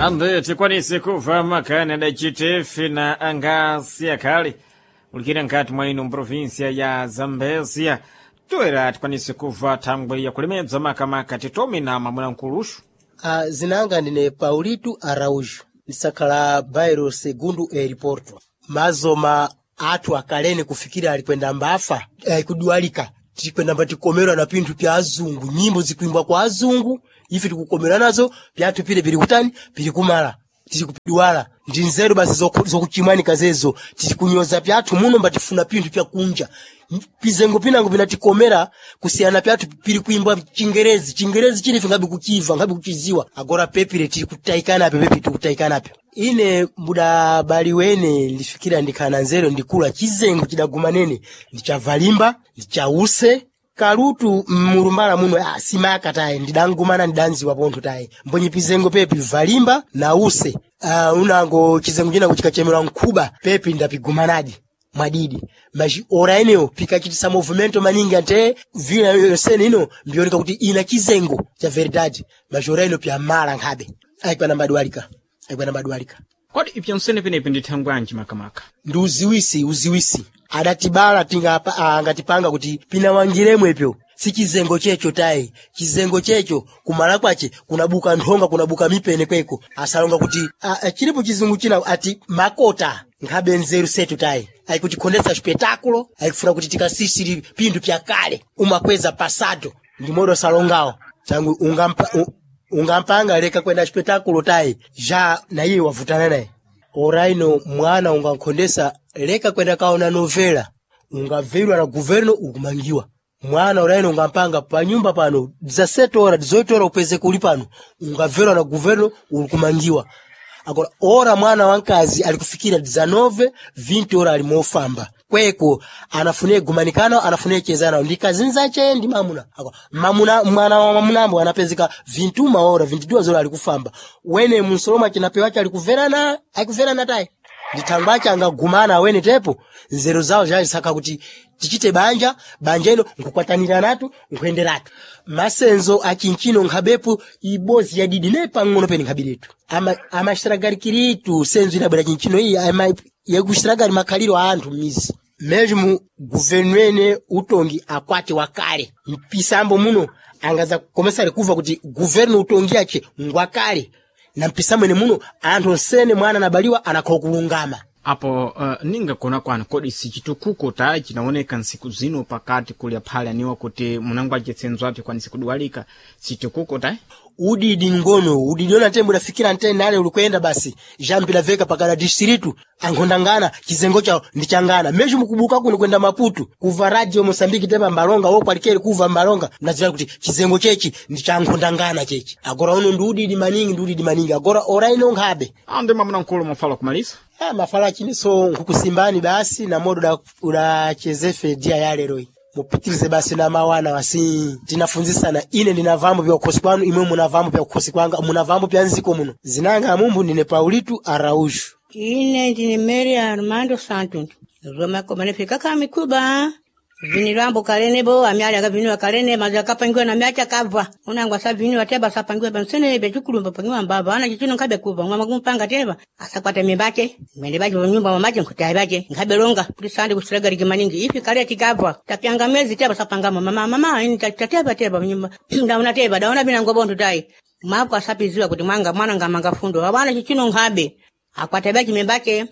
Ande tikwanise kuva makani adacitefe na angasi akhale ulikira nkati mwa ino mprovinsia ya Zambezia toera tikwanise kuva thangwe ya kulemedza makamaka titome na mamwinankuluxu. Zinanga ndine Paulito Araújo, ndisakhala bairro Segundo Aeroporto. Mazoma athu akalene kufikira alikwenda mbafa kudwalika tikwenda mbatikomera na pinthu pya azungu, nyimbo zikuimbwa kwa azungu, ife tikukomera nazo pyathu pile pili kutani pili kumala tili kupidwala ndi nzeru basi zokuchimwanika zezo tili kunyoza pyathu muno mbatifuna pinthu pyakunja pizengo pinango pinatikomera kusiyana pyathu pili kuimbwa chingerezi chingerezi chilife ngabe kuchiva ngabe kuchiziwa agora pepile tili kutaikanape pepi tili kutaikanape ine mudabali wene ndifikira ndikhana nzeru ndikula chizengo chidagumanene ndichavalimba ndichause kalutu mulumbala muno simaka tayi ndidangumana ndidanziwa pontho tayi mbonye pizengo pepi valimba na use unango chizengo chinango chikachemerwa nkhuba pepi ndapigumanadi mwadidi maji ora eneyo pikachitisa movimento maningi ante vila yosene ino mbioneka kuti ina chizengo cha verdade maji ora ino pyamala nkhabe aikwana mbadwalika aikwana mbadwalika. Kodi ipyansene penepi ndi thangwanji makamaka? Ndi uziwisi uziwisi adatibala tingapa angatipanga kuti pinawangiremwe epyo si chizengo checho tayi chizengo checho kumala kwache kunabuka nthonga kunabuka mipene kweko asalonga kuti chilipo chizungu china ati makota nkhabe nzeru setu tayi ayikutikhondetsa spetakulo ayikufuna kuti tikasisiri pinthu pyakale umakweza pasado ndi modo salongawo tangu ungampanga leka kwenda spetakulo tayi ja na iye wavutana naye oraino mwana ungankhondesa leka kwenda kaona novela ungavelwa na guverno ukumangiwa mwana oraino ungampanga panyumba pano 17 ora 18 ora upeze kuli pano ungavelwa na guverno ukumangiwa agora ora mwana wankazi alikufikira 19 20 ora ali mofamba kweko anafunie gumanikano anafunie chezana ndi kazinzache ndi mamuna agora mamuna mwana wa mamunambo anapezeka 21 ora 22 ora alikufamba wene musoloma chinapewa alikuverana akuverana tayi ndithangwache angagumana awene tepo nzeru zawo zazisakha kuti tichite banja banja ino nkukwataniratu nkuyenderatu masenzo achinchino nkhabepo ibozi yadidi ne pang'ono pene nkhabiretu amaxiragarikiritu senzo inabwera chinchino iyi yakuxiragari makhaliro a anthu m'mizi mesmo guvernu utongi akwati wakale mpisambo muno angaza komesari kuva kuti guvernu utongi ache ngwakale na mpisambo ene muno anthu onsene mwana anabaliwa anakhowa kulungama. Apo ningakona kwanu kodi sichitukuko tayi chinaoneka ntsiku zino pakati kulya phale aniwa kuti munango acitsenzo apyo kwanise kudwalika sichitukuko tayi? Udidi ngono udidi ona ntembo udafikira ntene nale ulikwenda basi jampilaveka pakala distritu ankhondangana chizengo chawo ndichangana mesho mukubuka kuno kwenda Maputo kuva radio Mosambiki tepa mbalonga wo kwalikeli kuva mbalonga mnadziwa kuti chizengo chechi ndichankhondangana chechi agora uno ndi udidi maningi ndi udidi maningi agora ora ino nkhabe. Ande mwamuna mkulu mafala kumalisa. Mafala chiniso nkukusimbani basi na modo udachezefe dia ya lero iyi mupitirize basi na mawana wasi tinafunzisana ine ndinavambo pya kukhosi kwanu imwe munavambo pya kukhosi kwanga munavambo pya nziko muno zinanga amumbu ndine Paulito Araújo. Ine ndine Mary Armando Santos. Roma komanifika kamikuba. Vinilambo kalene bo amyali akaviniwa kalene maza kapangiwa na myacha kava. Unangwa sa viniwa teba sapangiwa bansene be chukulumba pangiwa mbaba ana chichino nkabe kuva ngwa makumpanga teba asakwata mimbache mwende bache nyumba mamache nkutai bache nkabe longa kulisandi kusilaga maningi ifi kale tikava tapyanga mezi teba sapanga mama mama ini tateba teba nyumba ndaona teba daona bina ngobonto tai mako asapiziwa kuti mwanga mwana ngamanga fundo abana chichino nkabe akwata bache mimbache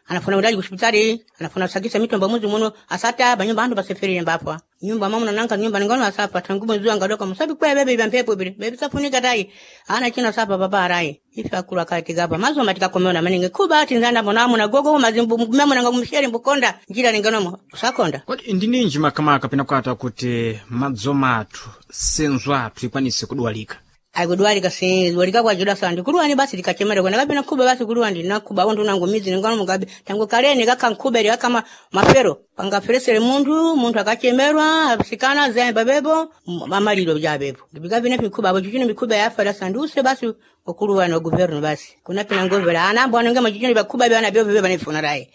anafuna ulaji kuhospitali anafuna sakisa mitombo muzi muno asata banyumba andu baseferi mbapwa nyumba mama nanka nyumba ngono asapa tangu mwezi wanga doka musabi kwa bebe bya mpepo bile bebe safunika tai ana china sapa baba rai ifi akula kati gaba mazo matika komona maninge kuba ati nzanda mbona amuna gogo mazimbu memo nanga msheri mbukonda njira ninganomo usakonda. Kodi ndininji makamaka pinakwata kuti madzoma athu senzo athu ikwanise kudwalika? Aikudwalika si dwalika kwa juda sandi kuluwani basi likachemera kwena kabina kuba basi kuluwani nakuba wondu nangu mizi ngano mugabe tangu kaleni kaka nkuberi kama mafero pangaferesere mundu mundu akachemerwa asikana zemba bebo mamalilo bya bebo bigabi ne mikuba abo chichino mikuba yafera sandi use basi okuluwani oguverno basi kuna pina ngovera anambo anenge machichino bakuba bana byo bebe banifuna rai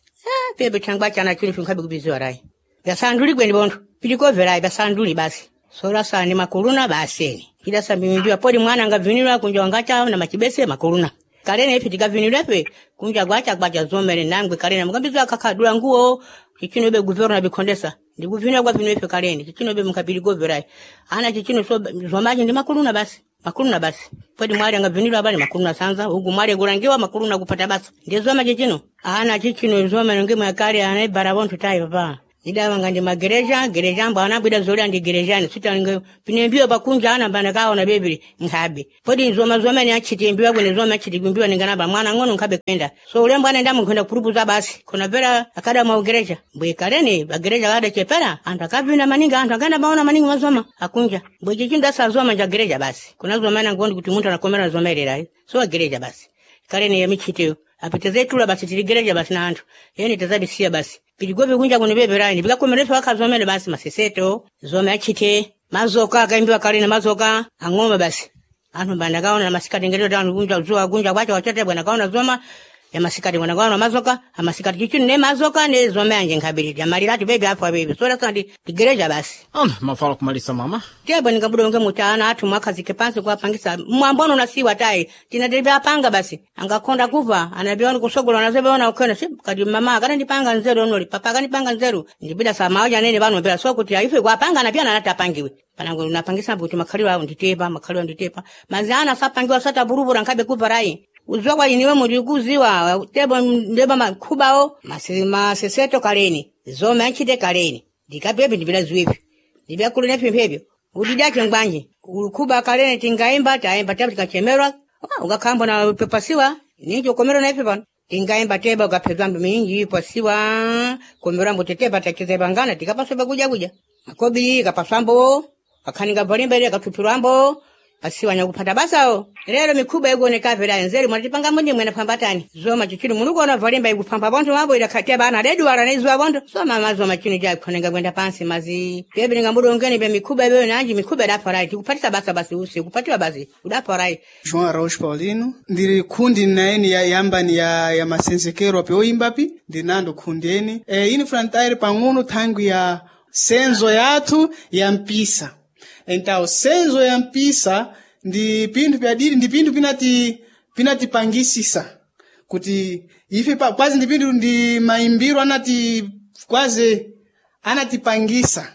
bebe changwa chana chini finkabe kubiziwa rai byasanduli gwendi bondu pilikovera byasanduli basi sola sani makuluna baseni ila sambi poli mwana nga vinilwa kunja wangacha na machibese makuluna. Kalene ife tikavinilwefe kunja gwacha gwacha zomere nangwe kalene mukambizo akakadula nguo chichino be guverna bikondesa ndikuvinwa gwa vino ife kalene chichino be mukabili goverai ana chichino so zomaji ndi makuluna basi makuluna basi pwedi mwali anga vinilwa bali makuluna sanza ugu mwali gulangiwa makuluna kupata basi ndizoma chichino ana chichino zoma nge mwakale ana barabontu tai papa idawanga ndi magereja gereja mbo anabwida zoli ndi gerejani sitalinge pinembiwa pakunja ana mbana kaona bebili nkhabe podi nzoma zoma ni achitimbiwa kwene zoma achitigumbiwa ninganaba mwana ng'ono nkhabe kwenda so ulembo anaenda munkhwenda kurupuza basi khona pera akada maugereja mbwe kalene bagereja kada chepera anthu akavina maningi anthu akaenda maona maningi mazoma akunja mbwe chichinda sazoma nja gereja basi kuna zoma na ngondi kuti munthu anakomera zoma ilera so agereja basi kalene yamichiteyo apitezetula basi tiligereja basi na anthu yeni tazabisiya basi piligobe kunja kuno beberani bikakomerefe wakazomere basi maseseto zome achite mazoka akaimbiwa kalene mazoka ang'oma basi anthu mbanda kaona na masikati ngerero tanu kunja zuwa kunja kwacha wachate bwana kaona zoma ya masikati bwana kaona mazoka amasikati chichini ne mazoka ne zome anje nkhabiri yamaliratu bebe afa bebe sora kandi tigereja basi Ana mafala kumalisa mama. tebo ningabudonge mutana athu mwakhazike pansi kuwapangisa mwambono nasiwa tayi tinatebe apanga basi angakonda kuva anabeona kusogola nazebeona ukhena si kadi mama akanandipanga nzeru onoli papa akanipanga nzeru ndibida samaoja nene pano pera so kuti ife kuapanga na pia anati apangiwe panango napangisa kuti makhaliwa awo nditepa makhaliwa nditepa mazana sapangiwa satavuruvura nkhabe kuva rayi uziwa kwa iniwe muri kuziwa tebo ndeba makhubao maseseto kaleni zome anchite kaleni ndikapepe ndibila ziwipi ndibyakulina pimphepyo udidache ngwanje ulukhuba kalene tingaimba taimba teba tikachemerwa ukakhamba na pepasiwa ninji ukomerwa na ife pano tingaimba teba ukaphedwa mbi minji pasiwa komerwa mbo tetepa tachezepangana tikapaswa kuja kuja makobili kapaswambo kakhaninga valimba ile kathuphirwambo pasiwa nyakupata basawo lero mikhuba ikuoneka pera nzeru mwatipanga mundi mwene pambatani zoma chichini mulikuona valimba ikupamba bontho mabo ilakhatia bana leduwala naizuwa bontho soma mazoma chini jakhonenga kwenda pansi mazi pepe ningambudongeni pe mikhuba ibeyo nanji mikhuba idafarai tikupatisa basa basi usi kupatiwa basi udafarai João Araújo Paulino ndiri khundi naeni ya yambani ya masenzekero api oimbapi ndinando khundi eni e, ini frontaire pang'ono thangwi ya senzo yathu ya mpisa então senzo ya mpisa ndi pinthu pyadiri ndi pinthu pinatipangisisa kuti ife kwazi ndi pinthu ndi maimbiro anati kwazi anatipangisa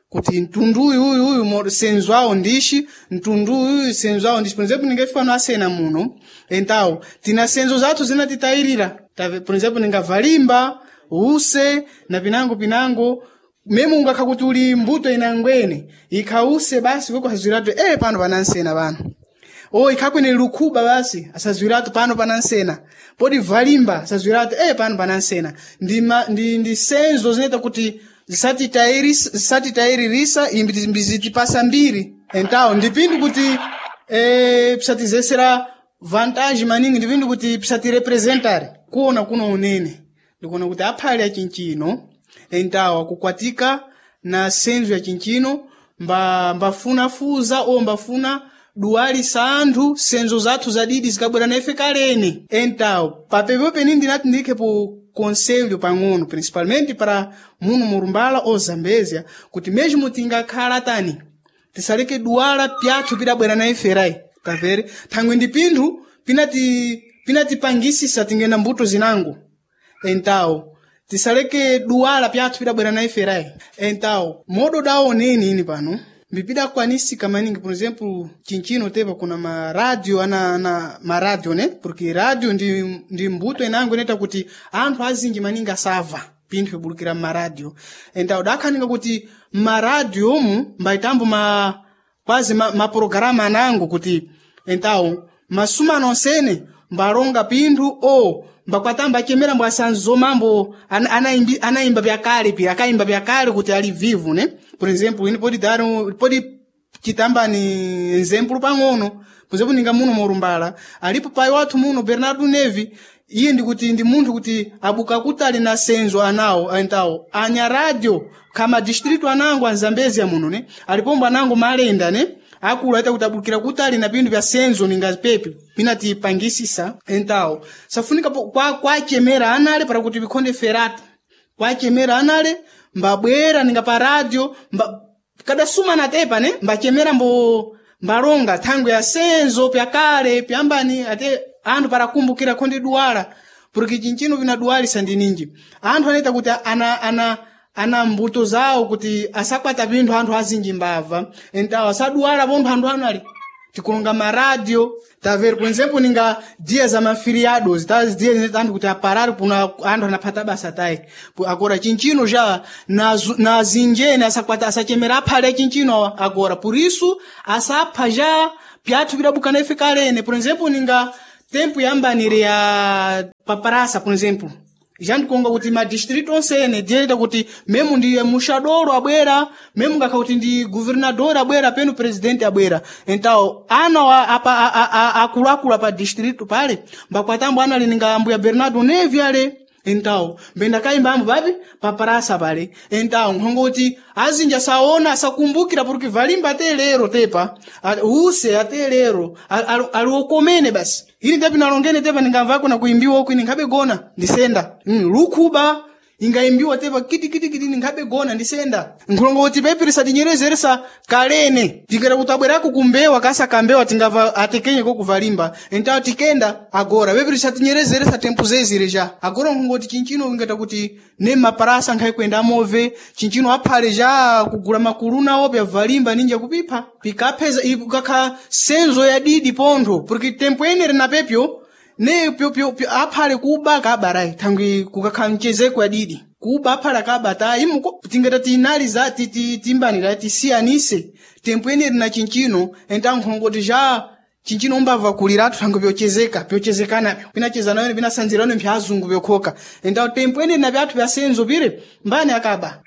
kuti mtundu uyu uyu uyu senzo awo ndishi mtundu uyu senzo awo ndishi por exemplo ninguém fica no acena muno então tina senzo zathu zinatitayirira por exemplo ningavalimba use na pinango pinango meme ungakha kuti uli mbuto inangwene ikhause basi kweko asazwiratu e pano panansena pano o ikhakwene lukhuba basi asazwiratu pano panansena podi valimba asazwiratu e pano panansena ndi, ndi senzo zinaita kuti zisatitayiririsa imbi zitipasa mbiri então ndi pinthu kuti pisatizesera vantagem maningi ndi pinthu kuti pisatirepresentare kuona kuno unene ndikuona kuti aphale achinchino então akukwatika na senzo ya chinchino mbafuna fuza o mbafuna duwalisa anthu senzo zathu zadidi zikabwera na ife kalene então papepo peni ndinati ndikhepo conselho pang'ono principalmente para muno murumbala ou zambézia kuti mesmo tingakhala tani tisaleke duwala pyathu pidabwera na ife tavere thangwe ndi pinthu pinatipangisisa tingena mbuto zinango então tisaleke duwala pyathu pidabwera na ife rai então modo daoneni ini pano mbipidakwanisika maningi por exemplo chinchino tepa kuna maradio ana maradio ne porque radio ndi mbuto inango inaita kuti anthu azinji maningi asava pinthu ibulukira mmaradio então dakhaninga kuti mmaradio omu mbaitambo kwazi maprograma anango kuti então masumano onsene mbalonga pinthu o mbakwatamba achemera mbw asanzo mambo anaimba pyakale pi akaimba pyakale kuti ali vivo ne por exemplo ini podi dar podi chitamba ni exemplo pang'ono por exemplo ninga muno morumbala alipo pai wathu muno Bernardo Nevi iye ndikuti ndi munthu kuti abuka kutali na senzo anawo então anya radio kama distrito anango anzambezia muno ne alipombo anango malenda ne akulu aita kuti abukira kutali na pinthu pya senzo ninga pepe pinatipangisisa então safunika kwachemera anale para kuti vikhonde feratu kwachemera anale mbabwera ninga pa radio kadasumana tepa ne mbachemera mbo mbalonga thangwe ya senzo pyakale pyambani ate anthu parakumbukira khondi duwala porque chinchino vinaduwalisa ndi ninji anthu anaita kuti ana mbuto zawo kuti asakwata pinthu anthu azinji mbava entawo asaduwala pontho anthu anu ali tikulonga maradio taver por exemplo ninga dia za maferiados tá dia anthu kuti aparar puna anthu anaphata basa tai agora chinchino já na zinjene asakwata asachemera aphale chinchino agora por isso asapha já pyathu pidabukana ife kalene por exemplo ninga tempo yambanire ya paparasa por exemplo já ndikonga kuti madistrito onsene dieta kuti memu ndi muxadoro abwera memu ngakha kuti ndi governador abwera penu presidente abwera então ana apa akuluakulu apa distrito pale mbakwatambo ana ali ninga ambuya Bernardo Nevi ale então mbendakayimba ambo papi paparasa pale então nkhongo kuti azinji asaona asakumbukira porque valimba ate lero tepa use ate lero ali okomene basi ili tepi nalongene tepa ndingamvako na kuimbiwa uku ine nkhabe gona ndisenda lukhuba ingaimbiwa tepa kiti kiti kiti ndikhabe gona ndisenda nkhulongo kuti pepirisa tinyerezeresa kalene tikera kuti abwerako kumbewa kasa kambewa tingava atekenyeko kuvalimba entawo tikenda agora pepirisa tinyerezeresa tempo zezire ja agora nkhongo kuti chinchino ingata kuti ne maparasa nkhayi kuenda move chinchino aphale ja kugula makuluna ope avalimba ninja kupipha pikapheza ikakha senzo ya didi pontho porque tempo enere na pepyo ne pyo pyo pyo aphale kuba kabarai thangwi kukakha mchezeko adidi kuba aphale akabata imuko tingata tinaliza timbanira tisiyanise tempo eneri na chinchino entankhongoti ja chinchino umbava kuliratu thangwi pyochezeka pyochezekanapyo pinachezana pinasanzirano mpya azungu pyokhoka entawo tempo eneri na pyathu pyasenzo pire mbani akaba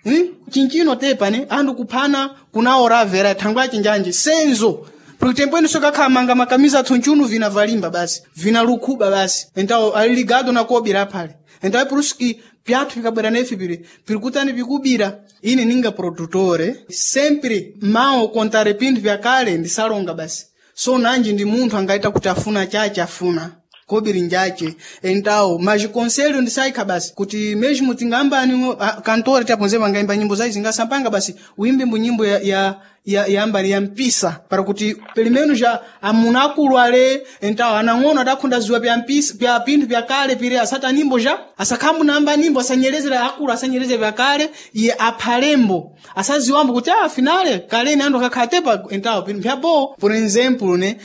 Chinchino tepa ne anthu kuphana kunaoravera thangwi achinjanji senzo porque tempo eno sokakhamanga makamiza athu nchunu vina valimba basi vina lukhuba basi então ali ligado na kobira phale então é por isso que pyathu pikabwera nefe pili pirikutani pikubira ine ninga produtore sempre mao contare pinthu vyakale ndisalonga basi so nanji ndi munthu angaita kuti afuna chache afuna kobiri njache então mas conselho ndisaikha basi kuti mesmo tingambani kantore taponzepa angaimba nyimbo zayi zingasampanga basi uimbe mbu nyimbo ya ambani ya mpisa para kuti pelo menos já amuna akulu ale então anang'ono adakhunda ziwa pya mpisa pya pinthu pyakale pire asata nyimbo já asakhambu namba nyimbo asanyerezera akulu asanyereze pyakale iye aphalembo asaziwambo kuti ah finale kaleni anthu akakhala tepa então pinthu pyabo por exemplo ne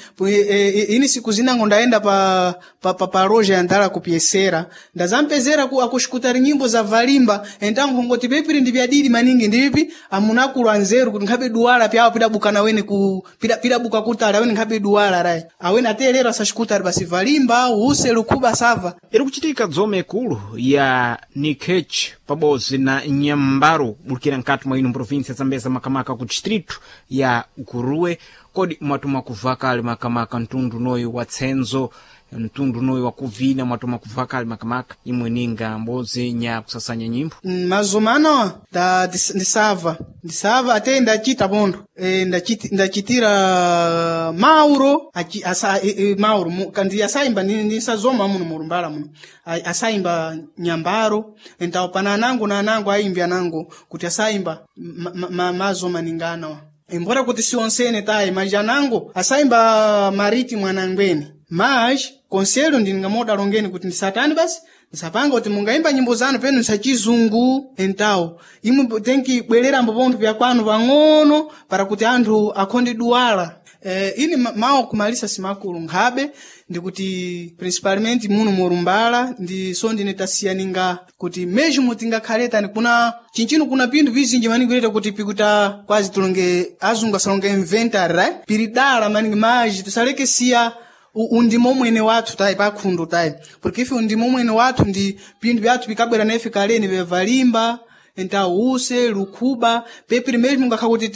ini siku zinango ndaenda pa loja ya ndala kupyesera ndazampezera akuxikutari nyimbo za valimba então nkhongoti pepiri ndi pyadidi maningi ndipipi amuna akulu anzeru kuti nkhabe duwala pyawo pidabukana wene ku pidabuka kutali awene nkhabe duwala rai awene atelero asaxikutari basi valimba use lukhuba sava Iri kuchitika dzome ikulu ya Nikech pabodzi na Nyambaro bulikira nkati mwa ino província Zambeza makamaka ku distrito ya Guruwe kodi mwatuma kuva kale makamaka mtundu noyu wa tsenzo mtundu noyu wakuvina mwatuma kuva kale makamaka imwe ninga mbodzi nya kusasanya nyimbo mazomano da ndisava ate ndachita pontho ndachitira mauro mauro kandi asaimba ndisazoma muno murumbala muno asaimba nyambaro então pana anango na anango aimbi anango kuti asaimba mazoma ninganawa embora kuti sionsene tayi mas anango asaimba mariti mwanangweni mas conselho ndingamodalongeni kuti ndisatani basi ndisapanga kuti mungaimba nyimbo zanu penu nsachizungu então imwe tenki bwererambo pontho pyakwanu pang'ono para kuti anthu akhonde duwala ini mawu kumalisa simakulu nkhabe ndikuti principalmente muno murumbala ndi so ndine tasiyaninga kuti mesmo tingakhaletani kuna chinchino kuna pinthu vizinji maningi kuleta kuti pikuta kwazi tulonge azungu asalonge inventory right? Pili dala maningi maji tisaleke siya undimo mwene wathu tayi pakhundu tayi porque ife undimo mwene wathu ndi pinthu byathu pikabwera nefe kaleni bevalimba então use lukhuba pepiri mesmo ngakha kuti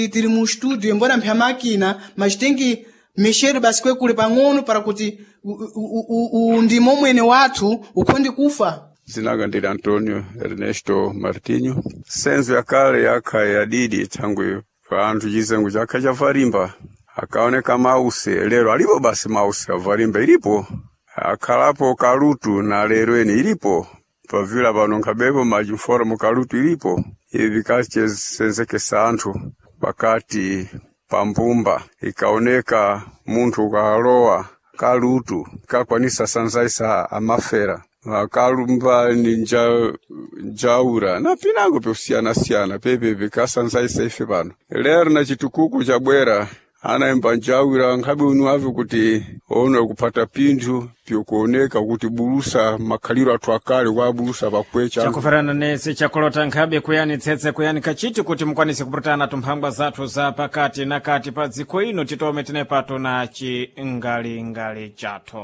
tiri mu studio embora mpya makina mas tenki mexer basi kwekule pang'ono para kuti undimo mwene wathu ukhonde kufa. Zinanga ndili Antonio Ernesto Martinho. Senzo ya kale yakha yadidi thangwi pa anthu chizengo chakha chavalimba akaoneka mause lero alipo basi mause avalimba ilipo akhalapo kalutu na lero eni ilipo pavila pano nkhabepo majimforomo kalutu ilipo ivi vikachesenzekesa anthu pakati pa mbumba ikaoneka munthu ukalowa Kalutu kakwanisa sanzaisa amafera akalumba ni njaura na pinango pyosiyana-siyana pepepe kasanzaisa ife pano lero na chitukuku chabwera anaimba njaura nkhabe unu ave kuti ono kupata pinthu pyokuoneka kuti bulusa makhaliro athu akale kwa bulusa pakwecha Chakufanana nese chakulota nkhabe kuyani tsetse kuyani kachiti kuti mukwanise kupulutana tumphangwa zathu za pakati na kati pa dziko ino titome tinepato na chingalingali chathu.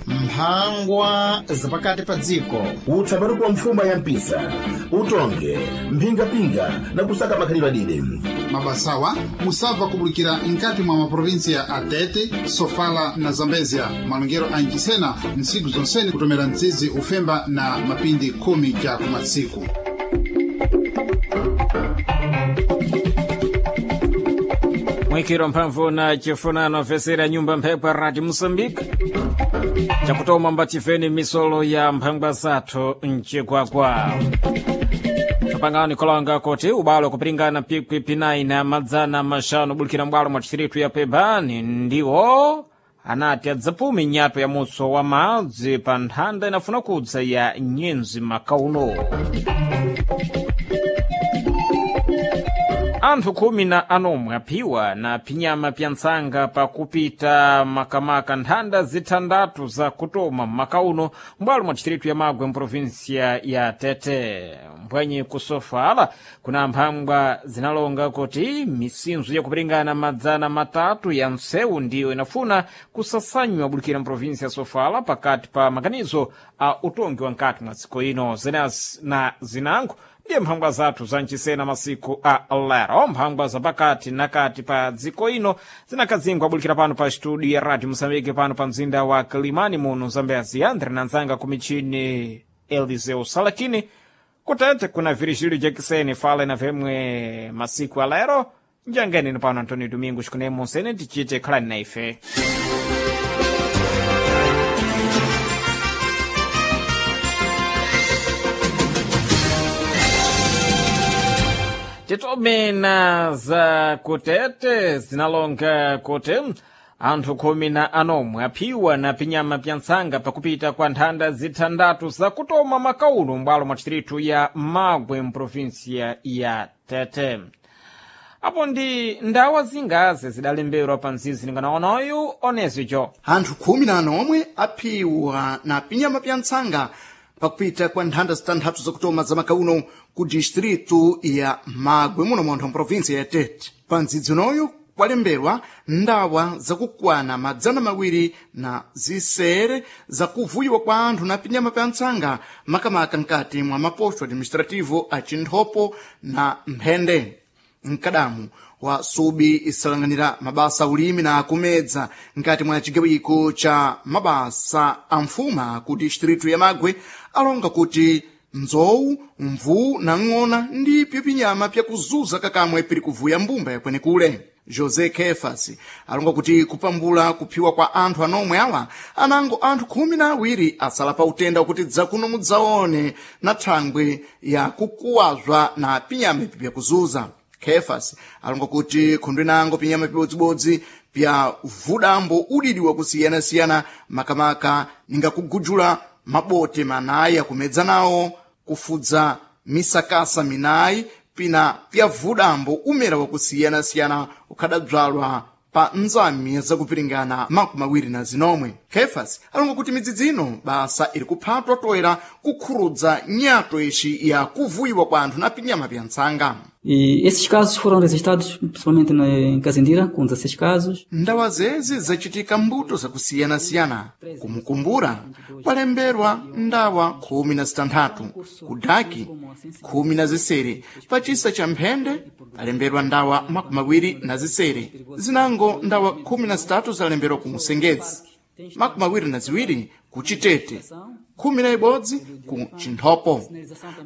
Mphangwa zapakati pa dziko. Utsambaruko wa mfuma ya mpisa utonge mphingapinga na kusaka makhalidwe adide. Mabasawa musabva kubulikira nkati mwa maprovinsia a Tete, Sofala na Zambezia. Malongero a Nchisena ntsiku zonsene kutomera mtsizi ufemba na mapindi 10 ja kumatsiku. Mwikiro mphamvu na chifunano fesera nyumba mphepo Radio Moçambique chakutoma mbatifeni misolo ya mphangwa zathu mchikwakwa tsopangani kolonga kuti ubalo kupiringana pikwi pinayi na madzana maxanu bulikira mbwalo mwa distritu ya Pebani ndiwo anati adzapume nyato ya mutso wa madzi pa nthanda inafuna kudza ya nyenzi makauno. Anthu 19 aphiwa na phinyama pya ntsanga pakupita makamaka nthanda zithandatu za kutoma mmakauno mbwalo mwa distritu ya Magwe mprovinsia ya Tete. Mbwenye kusofala kuna mphangwa zinalonga kuti misinzo yakupiringana 300 ya msewu ndiyo inafuna kusasanywa bulikira mprovinsia ya Sofala pakati pa maganizo a utongi wa nkati mwa dziko ino. Zenas na zinango ndiye mphangwa zathu zancisena masiku a lero. Mphangwa zapakati nakati pa dziko ino zinakazingwa bulikira pano pa studio ya Radio Moçambique pano pa mzinda wa Kilimani muno Zambezi. Andre na nzanga kumichini Eliseu Salakini kutete kuna Virgílio Jackson fala na vemwe masiku a lero njangeni pano Antonio Domingos kunemo sene tichite khalani na ife. Titomena za kutete zinalonga kuti anthu 19 aphiwa na pinyama pya ntsanga pakupita kwa nthanda zithandatu zakutoma makauno m'bwalo mwa distritu ya Magwe mprovinsia ya Tete. Apo ndi ndawa zingazi zidalemberwa pa mzizi linganaonoyu onezico. Anthu 19 aphiwa na pinyama pya ntsanga pakupita kwa nthanda zitanthathu zakutoma za makauno ku distritu ya Magwe muno mwanthu wa provinsia ya Tete. Pa mdzidzi unoyu kwalemberwa ndawa zakukwana 206 zakuvuyiwa kwa anthu na pinyama pya ntsanga makamaka nkati mwa maposto administrativo a Chinthopo na Mphende. Mkadamu wa subi isalanganira mabasa ulimi na kumedza nkati mwa chigawiko cha mabasa a mfuma ku distritu ya Magwe alonga kuti nzowu, mvuu na ng'ona ndipyo pinyama pyakuzuza kakamwe piri kuvuya mbumba yakwenekule. José Kefas alonga kuti kupambula kuphiwa kwa anthu anomwe awa anango anthu 12 asala pa utenda wakuti dzakuno mudzaone na thangwe ya kukuwazwa na pinyama ipi pyakuzuza. Kefas alonga kuti khundwe nango pinyama pibodzibodzi pya vudambo udidi wakusiyana-siyana makamaka ningakugujula mabote manayi akumedza nawo, kufudza misakasa minayi pina pya vudambo umera wakusiyana-siyana ukhadabzalwa pa nzami zakupiringana 27. Kefas alonga kuti midzidzi ino basa iri kuphatwa toera kukhurudza nyato ixi ya kuvuyiwa kwa anthu na pinyama pya ntsanga. E esses casos foram registrados principalmente em Kazindira, com 16 casos. Ndawa zezi zachitika mbuto zakusiyana-siyana. Kumukumbura kwalemberwa ndawa 16, kudaki 16, pachisa cha Mphende palemberwa ndawa 26, zinango ndawa 13 zalemberwa ku Musengezi. 22 ku Chitete, 11 ku Chinthopo.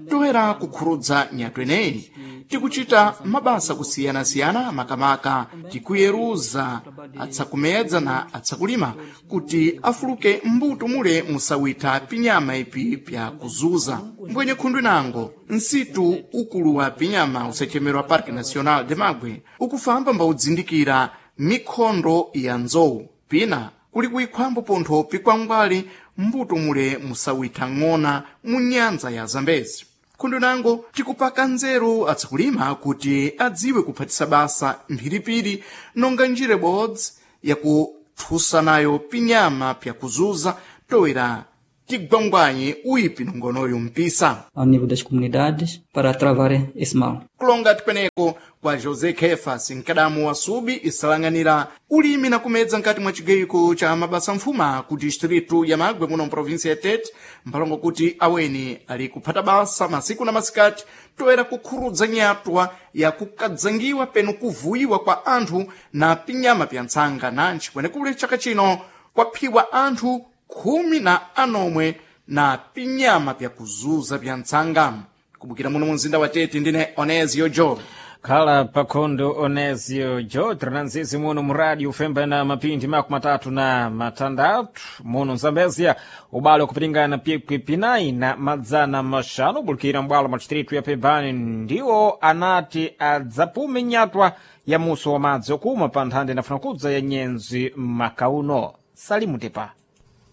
Toera kukhurudza nyatwa ineyi tikuchita mabasa kusiyanasiyana, makamaka tikuyeruza atsakumedza na atsakulima kuti afuluke mbuto mule musawitha pinyama ipi pyakuzuza. Mbwenye khundu inango, nsitu ukulu wa pinyama usachemerwa Parque Nacional de Magwe ukufamba mbaudzindikira mikhondo ya nzowu, pina kuli kuikhwambo pontho pikwangwali mbuto mule musawitha ng'ona mu nyanza ya Zambezi. Khundu nango tikupaka nzeru atsakulima kuti adziwe kuphatisa basa mphiripiri nonga njira ibodzi yakuthusa nayo pinyama pyakuzuza toera tigwangwanye uipi nongonoyo mpisa. Ao nível das comunidades para travar esse mal. Kulonga tikweneko kwa José Kefas, mkadamu wa Subi isalang'anira ulimi na kumedza nkati mwa chigayiko cha mabasa mfuma ku distritu ya Magwe muno mprovinsi ya Tete, mphalongo kuti aweni ali kuphata basa masiku na masikati toera kukhurudza nyatwa ya kukadzangiwa penu kuvuyiwa kwa anthu na pinyama pya ntsanga. Nanji kwenekule chaka chino kwaphiwa anthu 16 na pinyama pyakuzuza pya ntsanga. Kubukira muno mu mzinda wa Tete, ndine Onesio Jo. Khala pakhondo Onesio Jo, tirinanzizi muno mu rádio femba na mapindi 36 muno Mzambezia, ubale wakupiringana pikwi pinayi na 500 ubulukira mbwalo mwa distritu ya Pebani ndiwo anati adzapume nyatwa ya muso wa madzi okumwa pa nthanda inafuna kudza ya nyenzi makauno. Salimu Tepa.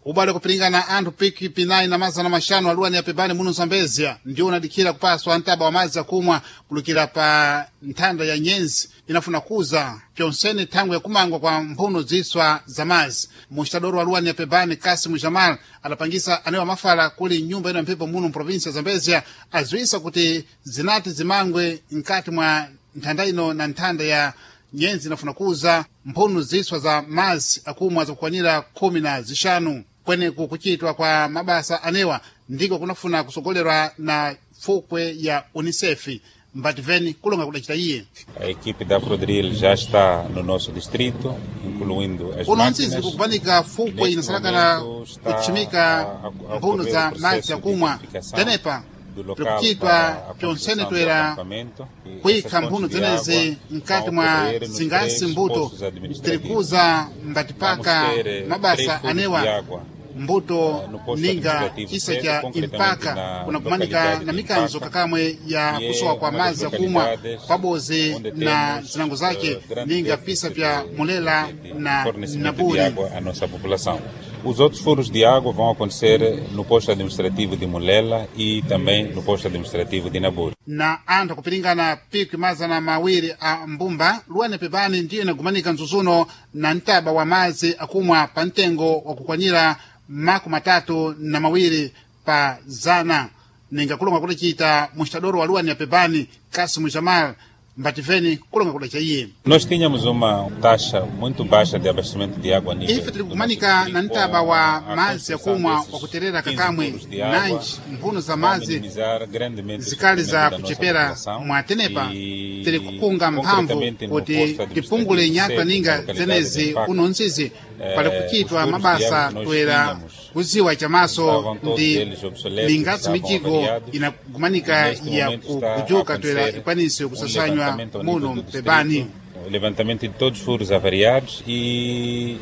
Ubale kupiringana anthu piki pinayi na 500 aluwani yapepani muno Zambezia ndiwo unadikhira kupaswa ntaba wa madzi akumwa kulukira pa nthanda ya nyenzi inafuna kuza pyonsene thangwe yakumangwa kwa mphuno ziswa za madzi. Muxitadoro wa luwani yapepani Kasimu Jamal adapangisa anewa mafala kuli nyumba ino ya mphepo muno mprovinsi ya Zambezia aziwisa kuti zinati zimangwe mkati mwa nthanda ino na nthanda ya nyenzi inafuna kuza mphuno ziswa za madzi akumwa zakukwanira 15. Kweneku kuchitwa kwa mabasa anewa ndiko kunafuna kusogolerwa na fukwe ya UNICEF mbativeni kulonga kudacita iye. A equipe da Afrodril já está no nosso distrito, incluindo as Uno ntsizi máquinas. kukupanika fukwe Neste inasalakala momento está kutchimika a mphuno ocorrer za o processo madzi de akumwa identificação tenepa do local tikuchitwa para a pyonsene construção do toera acampamento. E kuyikha essas mphuno fontes de zenezi água mkati vão mwa ocorrer nos zingasi três mbuto postos administrativos. tirikuza mbatipaka Vamos ter três mabasa furos de anewa água mbuto no posto ninga administrativo chisa sede, cha concretamente impaka na kunakumanika localidade na de mikanzo Impaka, kakamwe ya que é kusowa kwa uma das madzi akumwa localidades pabozi onde na temos, zinango zake grande ninga déficit pisa pya Mulela de na fornecimento de Naburi. água à nossa população. Os outros furos de água vão acontecer no posto administrativo de Mulela e também no posto administrativo de Naburi. Na anthu akupiringana pikwi 200 a mbumba luwani pepani ndiyo inagumanika mzuzuno na mtaba wa madzi akumwa pa mtengo wakukwanira 32 pa zana. Ninga kulonga kudacita muxitadoro wa luwani ya pepani Kasimu Jamal mbativeni kulonga kudaca iye. Nós tínhamos uma taxa muito baixa de abastecimento de água a nível Ife do tiri nosso kumanika distrito, na mtaba wa com a madzi construção akumwa desses wakuterera 15 kakamwe furos de água, nanji mphuno za vão madzi minimizar grandemente o zikali za sofrimento da nossa kuchepera população mwatenepa e, tiri kukunga mphamvu concretamente, no kuti posto administrativo tipungule nyatwa sede, na ninga localidade de zenezi Impaka, uno nzizi pali kuchitwa os furos de mabasa água que nós toera tínhamos kuziwa chamaso estavam todos ndi eles obsoletos, lingatsi estavam mijigo avariados. inagumanika Neste ya momento está a kujuka toera acontecer ikwanise kusasanywa levantamento ao nível muno do mpepani. distrito, o levantamento de todos os furos avariados e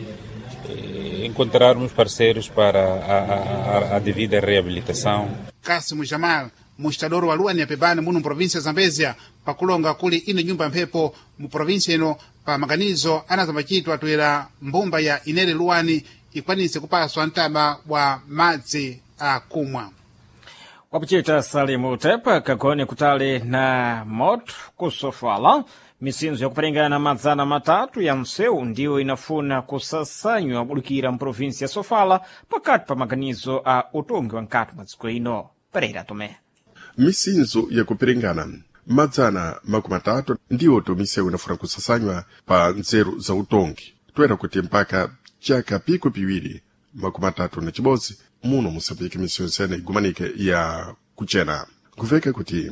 encontrarmos parceiros para a devida reabilitação. Kasimu Jamal muxitadoro wa luwani ya pepani muno mprovinsi ya Zambezia pakulonga kuli ino nyumba ya mphepo mu provinsi ino pa maganizo anazambachitwa toera mbumba ya inere luwani ikwanise kupaswa mtaba wa madzi akumwa. Wapuchita Salimu Tepa kagone kutali na moto kusofala misinzo yakuperingana 300 ya msewu ndiyo inafuna kusasanywa bulukira mprovinsi ya Sofala pakati pa maganizo a utungi wa nkati mwa dziko ino. Pereira Tomé. Misinzo yakupiringana 300 ndiwo misewu inafuna kusasanywa pa nzeru za utongi toera kuti mpaka chaka 2031 muno musambiki misewu nsene igumanike ya kuchena. Nkuveka kuti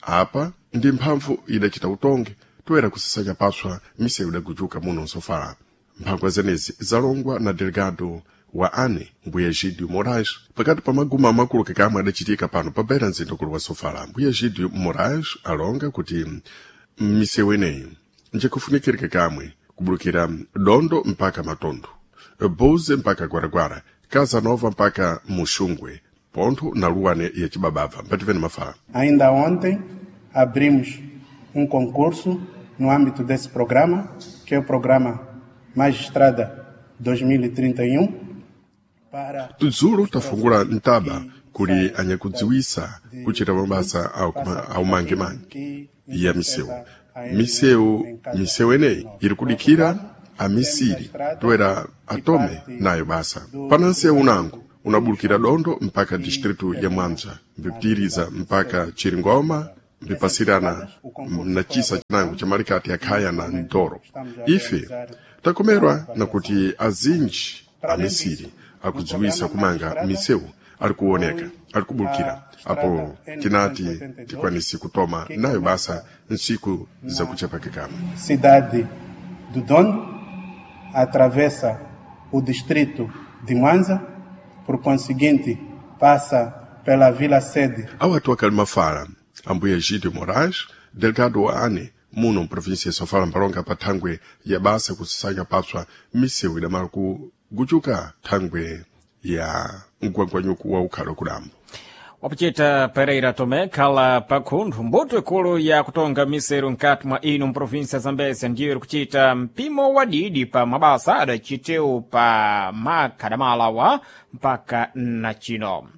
apa ndi mphamvu idacita utongi toera kusasanya paswa misewu idagujuka muno nsofala. Mphangwa zenezi zalongwa na delegado wa ane mbuya Gidio Moraes pakati pa maguma amakulu kakamwe adachitika pano pa beira mzinda ukulu wa Sofala. Mbuya Gidio Moraes alonga kuti misewu ineyi njikufunikirika kamwe kubulukira Dondo mpaka Matondo, Buze mpaka Gwaragwara, Casa Nova mpaka Muxungwe, Ponto na Luane ya Chibabava. Mpativeni mafala. Ainda ontem abrimos concurso no âmbito desse programa, que é o programa Magistrada 2031. Para Tudzulu tafungula ntaba kuli anyakudziwisa kuchita mabasa aumangemange ya misewu. Misewu eneyi iri kudikira amisiri toera atome nayo basa. Pana nsewu unango unabulukira Dondo mpaka distritu ya Mwanza, mbipitiriza mpaka Chiringoma, mbipasirana na chisa chinango cha malikati ya Khaya na Ndoro. Ife takomerwa na kuti azinji amisiri akudziwisa kumanga misewu ali kuoneka ali kubulukira apo tinati tikwanisi kutoma nayo basa nsiku zakuchepake kamwe. Cidade do Dondo atravessa o distrito de Mwanza, por conseguinte passa pela vila sede. Awatu akali mafala ambuye Gidio Moraes, delegado wa ane muno mprovinsia ya Sofala mpalonga pa thangwe ya basa kusasanya papswa misewu idamala kuguchuka thangwe ya mgwangwanyuku wa ukhalo kudambo. Wapuchita Pereira Tomé khala pakhunthu mbuto ikulu ya kutonga miseru nkati mwa ino mprovinsia ya Zambezia ndiyo iri kuchita mpimo wadidi pa mabasa adachitewu pa makhadamalawa mpaka na chino.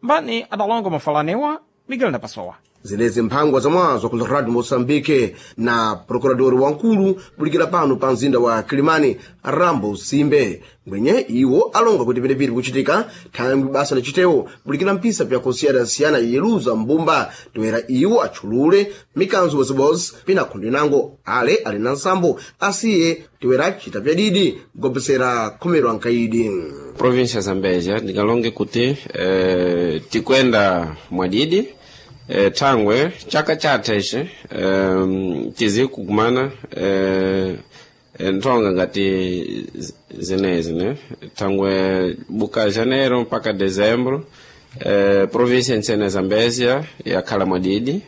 Mbani adalonga mafalanewa Miguel Ndapasowa. Zenezi mphangwa zamwazo ku Radio Moçambique na procurador wankulu kulikira pano pa mzinda wa Kilimani Rambo Simbe ngwenye iwo alonga kuti penepiri kuchitika thangwi basa lachitewo kulikira mpisa pyakusiyana-siyana yeluza mbumba toera iwo atchulule mikanzo bozibozi pina khundu inango ale ali na nsambo asiye toera chita pyadidi kugobesera khomero ankaidi. Província Zambésia ndingalonge kuti tikwenda mwadidi thangwe chaka chatha ici tizi kukumana nthonga ngati zinezi ne thangwe buka janeiro mpaka dezembro província ntsene Zambésia yakhala mwadidi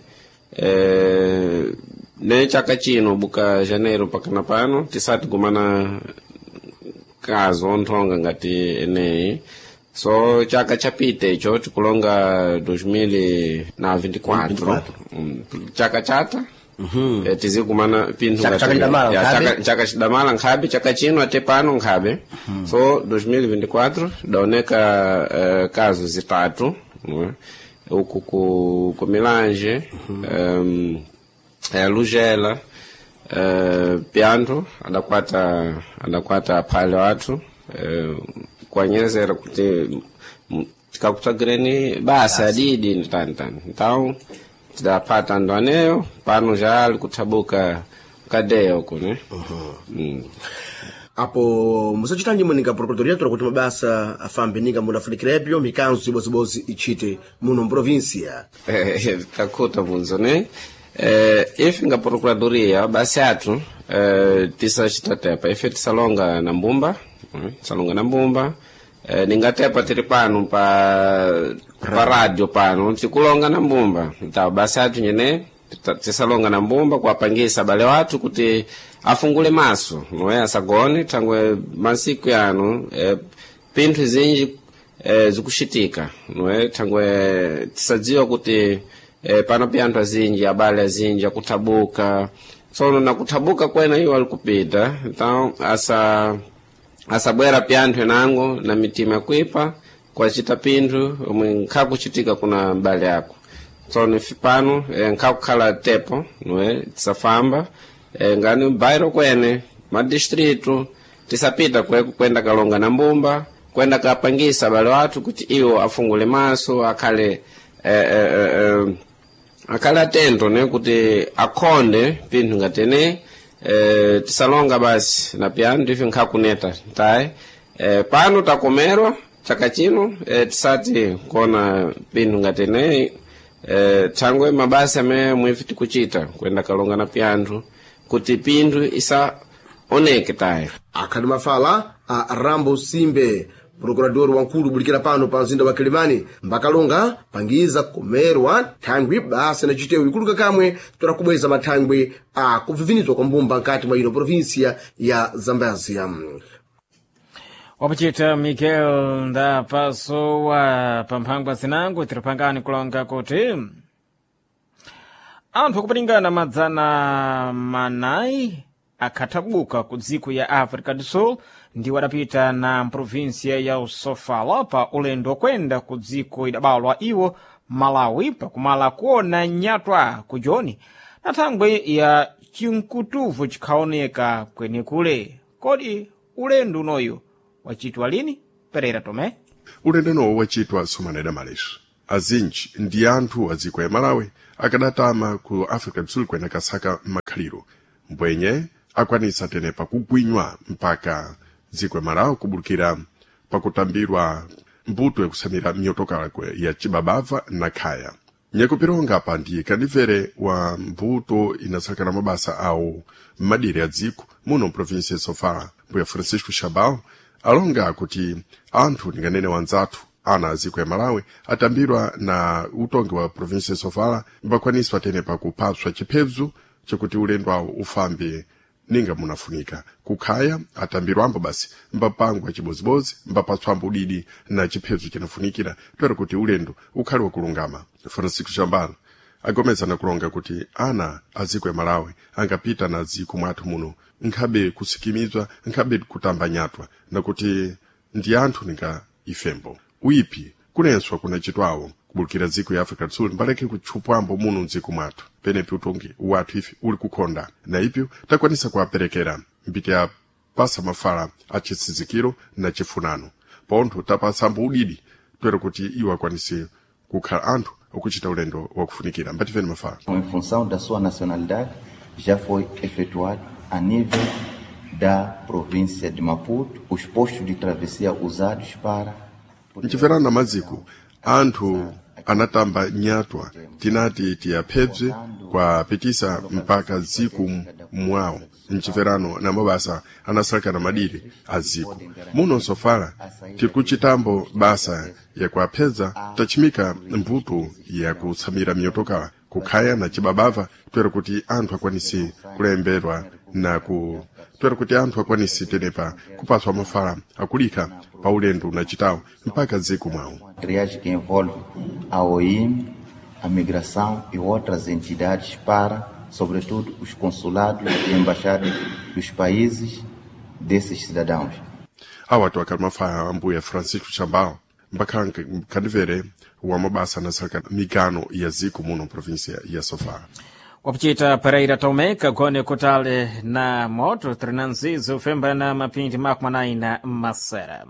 ne chaka chino buka janeiro mpaka na pano tisati kumana kazo nthonga ngati eneyi. So chaka chapita icho tikulonga 2024 chaka chata tizikumana pinthu chaka chidamala nkhabe chaka chino ate pano nkhabe. So 2024 daoneka kazo zitatu uku ku Milange, Lugela, Pianthu adakwata aphale wathu kuanyezera kuti tikakutsagireni basa adidi ntantani. Então tidapata andu aneyo pano já ali kuthabuka kadeya uku ne. Apo musachitanji muninga procuradoria tola kuti mabasa afambe ninga munafunikirepyo mikanzo ibozibozi ichite muno mprovinsia. Takhuta bvunzo ne ife nga procuradoria basi athu tisachita tepa ife tisalonga na mbumba tisalonga na mbumba ningatepa tiri pano pa radio pano tikulonga na mbumba ntawo basi athu nyene tisalonga na mbumba kuwapangisa abale wathu kuti afungule maso noe asagone thangwe masiku yano pinthu zinji zikuxitika noe thangwe tisadziwa kuti pano pya anthu azinji abale azinji akuthabuka tsono na kuthabuka kwena iwo ali kupita então asabwera pya anthu enango na mitima yakuipa kwacita pinthu omwe nkhakuchitika kuna mbale ako. Tsono ife pano nkhakukhala tepo noe tisafamba ngani bairo kwene madistritu tisapita kweko kwenda kalonga na mbumba kwenda kapangisa abale wathu kuti iwo afungule maso akhale akhale atento ne kuti akhonde pinthu ngatene tisalonga basi na pyanu ife nkhakuneta tayi pano takomerwa chaka chino tisati kuona pinthu ngatene thangwe mabasa amene mwife tikuchita kwenda kalonga na pyanthu kuti pinthu isaoneke tayi. Akhali mafala A Rambo Simbe, prokurador wankulu bulikira pano pa mzinda wa Kilimani, mbakalonga pangiza kumerwa thangwi basa na chitewu ikuluka kamwe tola kubweza mathangwi a kuvivinizwa kwa mbumba nkati mwa ino provinsia ya Zambezia. Wapuchita Miguel ndapasowa pamphangwa zinango tiripangani kulonga kuti anthu akupalingana 400 akhathabuka ku dziko ya Africa do Sul ndiwo adapita na mprovinsia ya Sofala pa ulendo wokwenda ku dziko idabalwa iwo Malawi pakumala kuona nyatwa ku Joni na thangwi ya chinkutuvu chikhaoneka kwenekule. Kodi ulendo unoyu wachitwa lini? Pereira Tomé. Ulendo nowo wachitwa somaneda maleso azinji ndi anthu a dziko ya Malawi akadatama ku Africa do Sul kwena kasaka makhaliro mbwenye akwanisa tenepa kugwinywa mpaka dziko ya Malawi kubulukira pakutambirwa mbuto yakusamira miyotokala ya chibabava na khaya. Nyakupironga apa ndi kandimvere wa mbuto inasakana mabasa awo m'madiri a dziko muno mprovinsia ya Sofala, mbuya Francisco Chabal alonga kuti anthu ndinganene wanzathu ana a dziko ya Malawi atambirwa na utongi wa provinsia ya Sofala mbakwaniswa tenepa kupatswa chiphezu chakuti ulendo awo ufambe ninga munafunika. Kukhaya atambirwambo basi mbapangwa chibozibodzi, mbapatswambo udidi na chiphezu chinafunikira toera kuti ulendo ukhale wakulungama. Francisco Chambala agomezana kulonga kuti ana a dziko ya Malawi angapita na dziko mwathu muno nkhabe kusikimizwa, nkhabe kutamba nyatwa, nakuti ndi anthu ninga ifembo uipi kunenswa kunachitwawo kubulukira dziko ya Africa do Sul mbaleke kutchupwambo muno mdziko mwathu penepi utongi wathu ife uli kukhonda na ipyo takwanisa kuwaperekera mbiti ya pasa mafala a chitsizikiro na chifunano pontho tapasambo udidi toera kuti iwo akwanise kukhala anthu okuchita ulendo wakufunikira. Mbatifeni mafala. Em função da sua nacionalidade, já foi efetuado a nível da província de Maputo os postos de travessia usados para Mchiverano maziko anthu anatamba nyatwa tinati tiyaphebze kwapitisa mpaka dziko mwawo. Mchiverano na mabasa anasalakana madiri a dziko muno Sofala tikuchitambo basa yakuaphedza tachimika mbuto yakutsamira miyotokala kukhaya na chibabava toera kuti anthu akwanise kulemberwa na ku toera kuti anthu akwanise tenepa kupaswa mafala akulika pa ulendo unachitawo mpaka dziko mwawo. Triagem que envolve a OIM, a migração e outras entidades para, sobretudo, os consulados e embaixadas dos países desses cidadãos. Awa twakhala mafala ambuya Francisco Chambal mbakhala kandimvere wa mabasa anasalaka migano ya dziko muno provinsia ya Sofala. Wapuchita Pereira Tomé kagone kutale na moto trinanzizo ufemba na mapindi makumi na masera.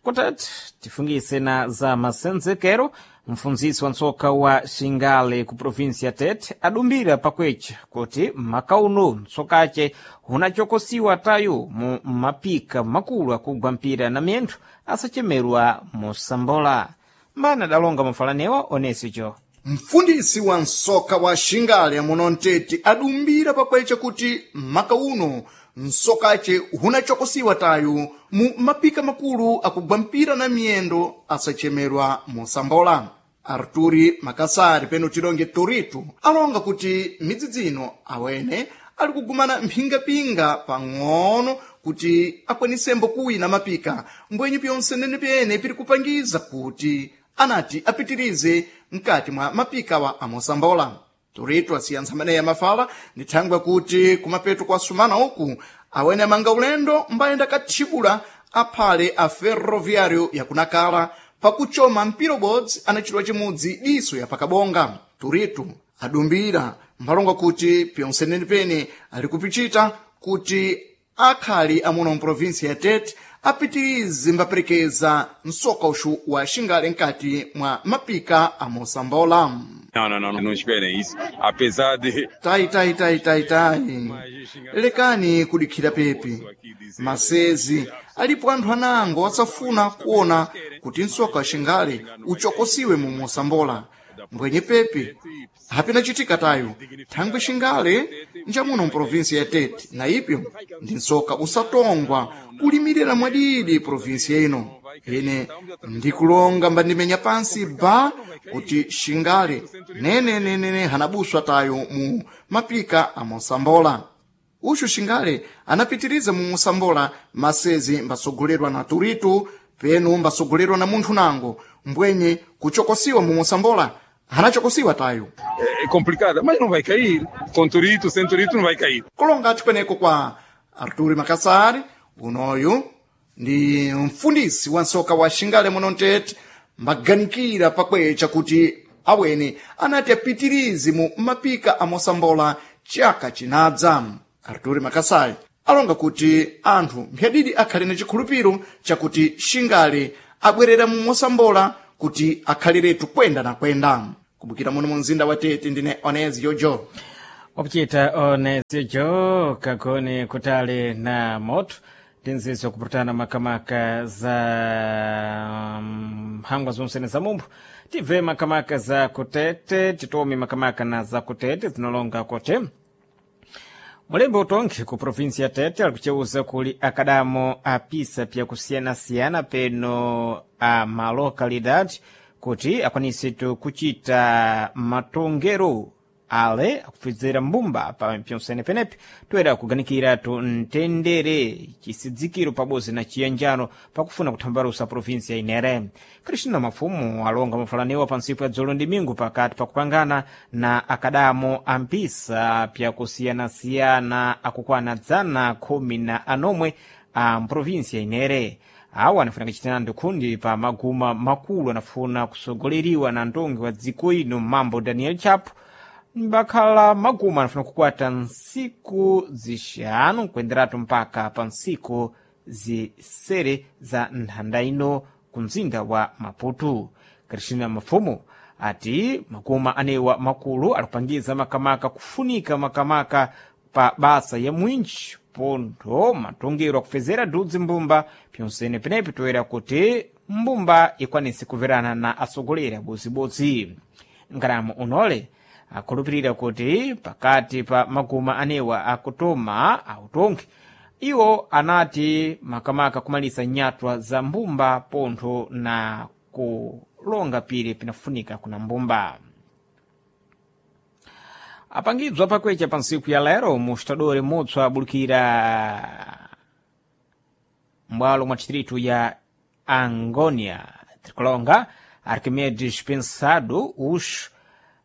Kutati tifungise na za masenzekero, mfunzisi wa ntsoka wa Xingale ku provinsia Tete adumbira pakwecha kuti makauno ntsokace hunachokosiwa tayo mu mapika makulu akugwa mpira na miyendo asachemerwa mosambola. Mbana adalonga mafalanewa onesicho. Mfundisi wa nsoka wa Xingale muno Mtete adumbira pakwecha kuti maka uno nsokace hunachokosiwa tayo mu mapika makulu akugwa mpira na miyendo asachemerwa mosambola. Arturi Makasari peno tilonge Torito alonga kuti midzidzi ino awene ali kugumana mphingapinga pang'ono kuti akwanisembo kuwina mapika mbwenyu pyonse nenepene piri kupangiza kuti anati apitirize mkati mwa mapika wa amosambola. Torito asiyantsa maneya mafala ni thangwe kuti kumapeto kwa sumana uku awene amanga ulendo mbayenda kathibula aphale a ferroviário yakunakala pakuchoma mpira ubodzi anachitwa chimudzi diso ya pakabonga. Torito adumbira mphalonga kuti pyonse nenepene ali kupichita kuti akhali amuno mprovinsia ya Tete apitirize mbaperekeza msoka uxu wa Xingale mkati mwa mapika a mosambola. Não, não, não, não esperem isso. Apesar de. Tai, tai, tai, tai, tai. Lekani kudikhira pepi. Masezi alipo anthu anango asafuna kuona kuti msoka wa Xingale uchokosiwe mu mosambola. Mbwenye pepi hapina chitika tayo thangwe Xingale njamuno mprovinsia ya Tete, na ipyo ndi nsoka usatongwa kulimirira mwadidi provinsia ino. Ine ndikulonga mbandimenya pansi ba kuti Xingale nenenenene hanabuswa tayo mu mapika a Mosambola. Uxu Xingale anapitiriza mu Mosambola masezi mbasogolerwa na Turito, penu mbasogolerwa na munthu nango mbwenye kuchokosiwa mu Mosambola hanachokosiwa tayo. É complicada, mas não vai cair. Com Turito, sem Turito, não vai cair. Kulonga kweneko kwa Arturi Makassari, unoyu ndi mfundisi wa nsoka wa Xingale muno Mtete, mbaganikira pakwecha kuti awene anati apitirize mu mapika a Mosambola chaka chinadza. Arturi Makassari alonga kuti anthu mphadidi akhale na chikhulupiro chakuti Xingale abwerera mu Mosambola kuti akhaliretu kwenda na kwenda. Kubukira muno mu mzinda wa Tete, ndine Onezi Jojo. Wakuchita Onezi Jo kagoni kutali na moto tinzizo kupatana makamaka za mphangwa zonsene za mumphu, tibve makamaka za kutete, titome makamaka na za kutete zinalonga kote mulembe utongi ku provinsi ya Tete alikuceuza kuli akadamo apisa pyakusiyanasiyana peno a malokalidade kuti akwanisitu kuchita matongero ale akupfizira mbumba pa pyonsene penepi toera kuganikiratu mtendere, chisidzikiro pabodzi na chiyanjano pakufuna kuthambalusa provinsi ya Inere. Kristina Mafumu alonga mafalaniwa pa ntsiku ya dzulo ndi mingu pakati pakupangana na akadamo ampisa pyakusiyanasiyana akukwana 119 a mprovinsi ya Inere. Awa anafuna kuchitana ndikhundi pa maguma makulu anafuna kusogoleriwa na ndongi wa dziko ino mambo Daniel Chapo, mbakhala maguma anafuna kukwata ntsiku zixanu kuenderatu mpaka pa ntsiku zisere za nthanda ino ku mzinda wa Maputo. Kristina Mafumu ati maguma anewa makulu alikupangiza makamaka kufunika makamaka pa basa ya mwinji pontho matongero akufezera dudzi mbumba pyonsene penepi toera kuti mbumba ikwanise kuverana na atsogoleri abozibodzi. Nkalamu unole akhulupirira kuti pakati pa maguma anewa akutoma autongi iwo anati makamaka kumalisa nyatwa za mbumba pontho na kulonga pire pinafunika kuna mbumba. Apangidzwa pakwecha pa ntsiku ya lero mustadori mutswa abulukira m'bwalo mwa distritu ya Angonia, tirikulonga Arquimedes Pensado uxu